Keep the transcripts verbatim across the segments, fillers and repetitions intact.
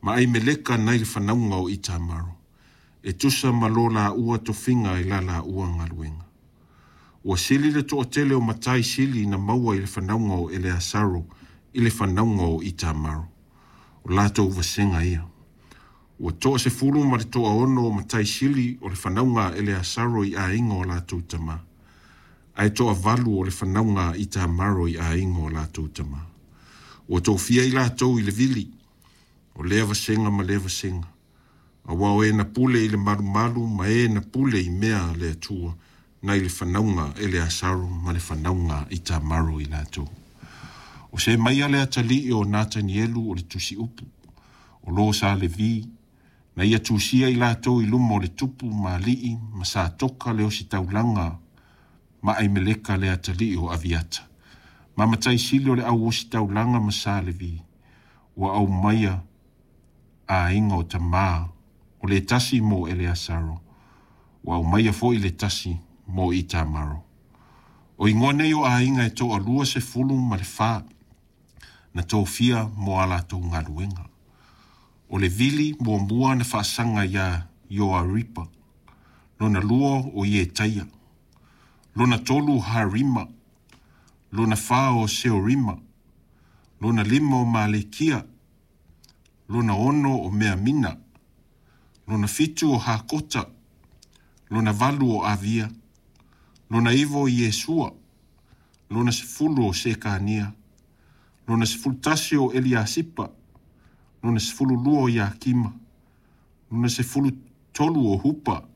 Ma Aimeleka nai le fanauga o Itamaro, e tusa ma lo laua tofiga i la laua galuega. Ua sili le toatele o matai sili na maua i le fanauga o Eleasaro i le fanauga o Itamaro. O latou vasega ia. Ua toasefulu ma le toaono o matai sili o le fanauga a Eleasaro i aiga o latou tama, ae toavalu o le fanauga a Itamaro i aiga o latou tama. Ua tofia i latou i le vili, o lea vasega ma lea vasega, auā o e na pule i le malumalu ma e na pule i mea a le Atua, nai le fanauga a Eleasaro ma le fanauga a Itamaro i latou. O Semaia le atalii o Natanielu o le tusiupu, o lo sa Levi, na ia tusia i latou i luma o le tupu ma alii ma Satoka le ositaulaga ma Aimeleka le atalii o Aviata. Ma matai sili o le au ositaulaga ma sa Levi, ua aumaia aiga o tamā, o le tasi mo Eleasaro, ua aumaia foi le tasi mo Itamaro. O igoa nei o aiga e toalua sefulu ma le fa, na tofia mo a latou galuega. O le vili muamua na faasaga iā Ioaripa, lona lua o Ietaia, lona tolu o Harima, lona fa o Seorima, lona lima o Malekia, lona ono o Meamina, lona fitu o Hakota, lona valu o Avia, lona iva o Iesua, lona sefulu o Sekania, lona sefulu tasi o Eliasipa, lona sefulu lua o Iakima, lona sefulu tolu o Hupa,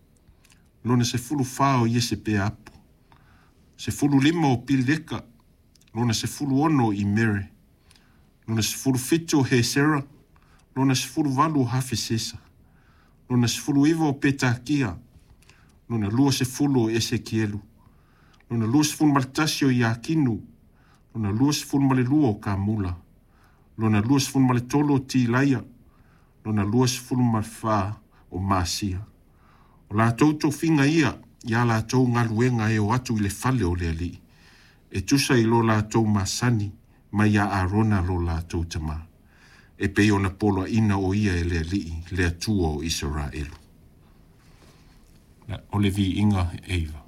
lona sefulu fa o Iesepeapu, sefulu lima o Pileka, lona sefulu ono o Imere, lona sefulu fitu o Hesera, lona sefulu valu o Hafesesa, lona sefulu iva o Petakia, lona lua sefulu o Esekielu, lona lua sefulu ma le tasi o Iakinu, lona lua sefulu ma le lua o Kamula, lona lua sefulu ma le tolu o Tilaia, lona lua sefulu ma le fa o Masia. O latou tofiga ia ia latou galuega e o atu i le fale o le Alii, e tusa i lo latou masani mai ia Arona lo latou tamā, e pei ona poloaiina o ia e le Alii, le Atua o Isaraelu. O le viiga e iva.